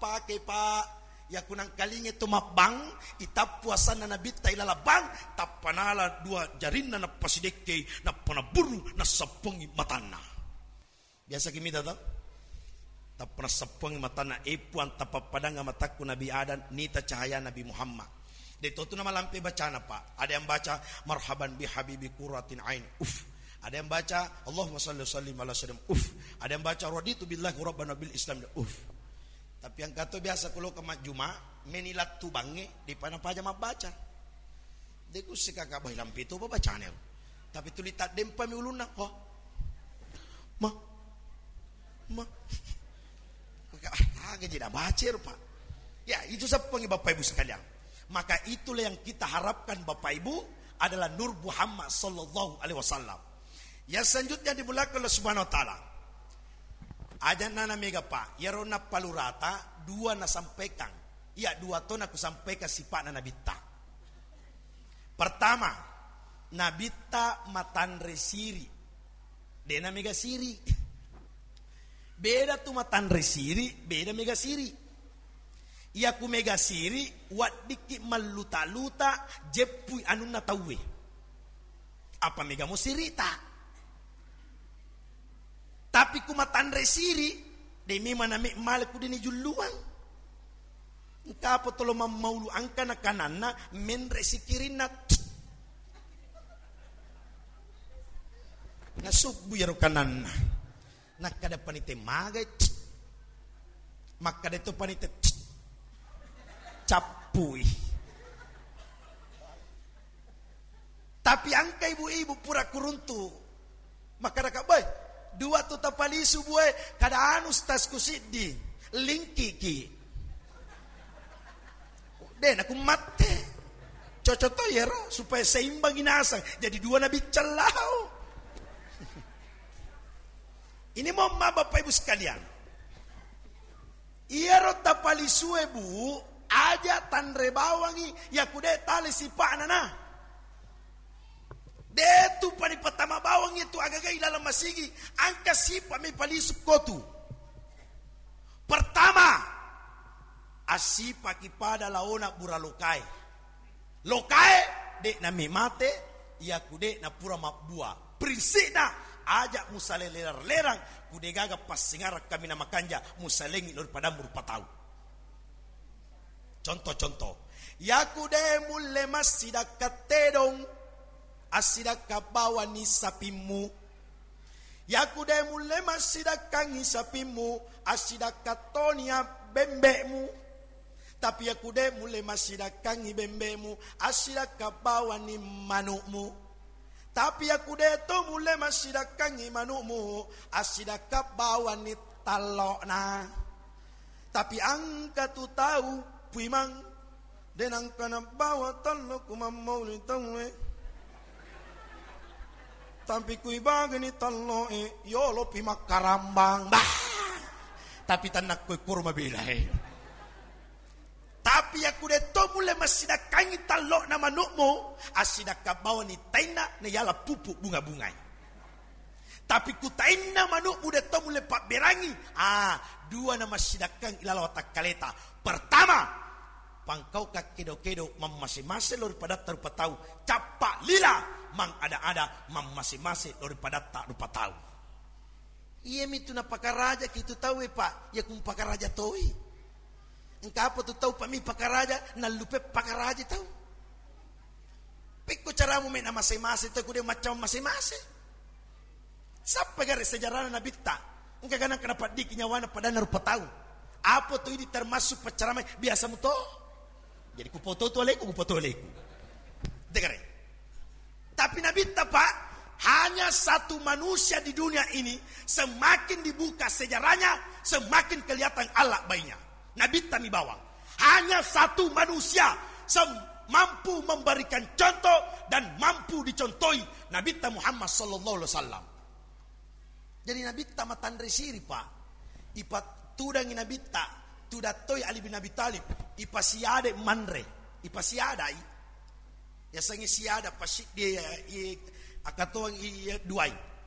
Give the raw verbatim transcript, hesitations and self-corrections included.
Pake, Pak. Iya kunangkalinge to mabbang, itappu asanna Nabitta ilala bang, tappa nala dua jarinna, nappa sidekkei, nappa nabburu, nassappongi matanna. Biasa ki mita to? Tappa nassappongi matanna, "E Puang, tapappadangnga matakku Nabi Adam, nita cahaya Nabi Muhammad." De to tu namalampe bacana, Pak. Ada yang baca, "Marhaban bi habibi qurratin ain." Uf. Ada yang baca, "Allahumma salli wa sallim ala sayyidina." Uf. Ada yang baca, "Raditu billahi rabban wa bil Islam." Uf. Tapi engka to biasa ku loka majjuma, meni lattu bangnge, de pa napaja mabbaca. De ku sikaka bai lampe to bacane. Tapi tuli taddempami ulunna, oh. Ma. Ma. Maka, ah, aga jadi baca rupa. Ya, itu seppengi Bapak Ibu sekalian. Maka itulah yang kita harapkan Bapak Ibu adalah Nur Muhammad sallallahu alaihi wasallam. Yang selanjutnya dimuliakan oleh Subhanahu wa Ta'ala. Aja nana mega, Pak, iyaro nappalurata dua nasampaikan. Iya, dua to nakusampaikan sipa'na Nabitta. Pertama, Nabitta matanre siri. Dena mega siri. Beda tu matanre siri, beda mega siri. Iya ku mega siri, waddikki malluta-luta, jeppui anunna tauwe. Apa mega mo sirita? Tapi ku matanre siri, de memang name male ku dini julluang. Engka apa tolo mammaulu angka na kananna, menre sikirinna. Nasubbu yaro kananna. Nakkada panite magai. Makkada to panite cappui. Tapi angka ibu-ibu pura kuruntu. Makkadaka, "Boy, dua tu tapalisu, Boy, kada anu stasku siddi, lingkiki." De naku matte. Cocok to yero supaya seimbangi nasang. Jadi dua nabi cellau. Ini mohon maaf Bapak Ibu sekalian. Iyaro tapalisue, Bu, aja tanre bawangi, yaku de tale sipa'na na. De tu pani patama bawangi tu agaga ilalang masigi, angka sipa mi palisu kotu. Pertama, assipaki pada laona bura lokae. Lokae, de nami mate, yaku de napura mabbua. Prinsipna, aja musale lerang-lerang, ku de gaga passingarang kami na makanja, musalengi lori padammu rupa tau. Contoh-contoh, yaku de mulle massidakka tedong, assidakka bawani sapimmu. Yaku de mulle massidakkangi sapimmu, assidakka tonia bembe'mu. Tapi yaku de mulle massidakkangi bembe'mu, assidakka bawani manu'mu. Tapi yaku de to mulle massidakkangi manu'mu, assidakka bawani tallo'na. Tapi angka tu tau puimang, de nangka nabbawa tallo ku mammauli tauwe. Tapi kui bagani talloe, yolo pi makkarambang. Bah! Tapi tanakko kuro mabelae. Tapi yaku de to mulle massidakkangi tallo'na manu'mu, assidakka bawani tainna na yala pupu bunga-bungai. Tapi ku tainna manu'mu de to mulle pabberangi, ah, dua na massidakkang ilala watakkaleta. Pertama, pangkau kakkedo-kedo mammase-mase lori padatta rupa tau, cappa lila mangada-ada mammase-mase lori padatta rupa tau. Iyami tu napakarajaki tu tauwe, Pak, yaku mpakaraja toi. Engka apa tu tau pami pakaraja, nallupe pakaraja tau. Pekko caramu me namase-mase tau, kude macam mase-mase. Sappa gare sejarahna Nabitta? Engka ganang kena paddiki nyawana padanna rupa tau. Apa tu idi termasuk paccaramai biasa muto? Jadi kupoto tu aleku, kupoto aleku. Degare. Tapi Nabitta, Pak, hanya satu manusia di dunia ini, semakin dibuka sejarahnya, semakin kelihatan Allah baiknya. Nabitta mi bawang. Hanya satu manusia sem-, mampu memberikan contoh dan mampu dicontohi, Nabitta Muhammad sallallahu alaihi wasallam. Jadi Nabitta matanre siri, Pak. Ipatudangi Nabitta, tudattoi Ali bin Abi Thalib, ipasiade manre, ipasiadai. Yasengnge siada pasiddi, iya, iya, akatoang iya duai.